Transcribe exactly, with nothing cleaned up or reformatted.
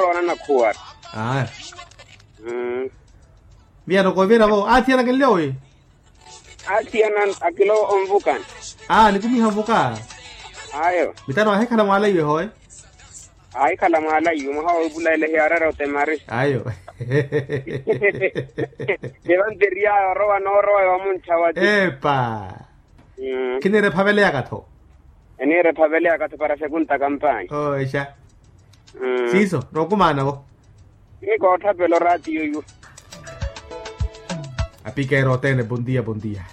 muroona nakhuwara. Aya. Mmm. Viyano kooviravo aathiyanaka nlyowi. Athiyana akilo onvukana. Aa nikumiha nvuka. Ayo. Mitano ahikhala mwaalayiwe howe. Ahikhala mwaalayiwe mwaha woopulayela hiyaarara otemari. Ayo. Evanteriya orowa noorowa wamunttha wati. Epa. Khiniira ephaveleyaka-tho. Eniira ephaveleyaka-tho para sekunta kampanya. Oo exa. Siiso nookumaana-vo. Ni kootthapela oraatiyo iwo. Apikeera othene bondia bondia.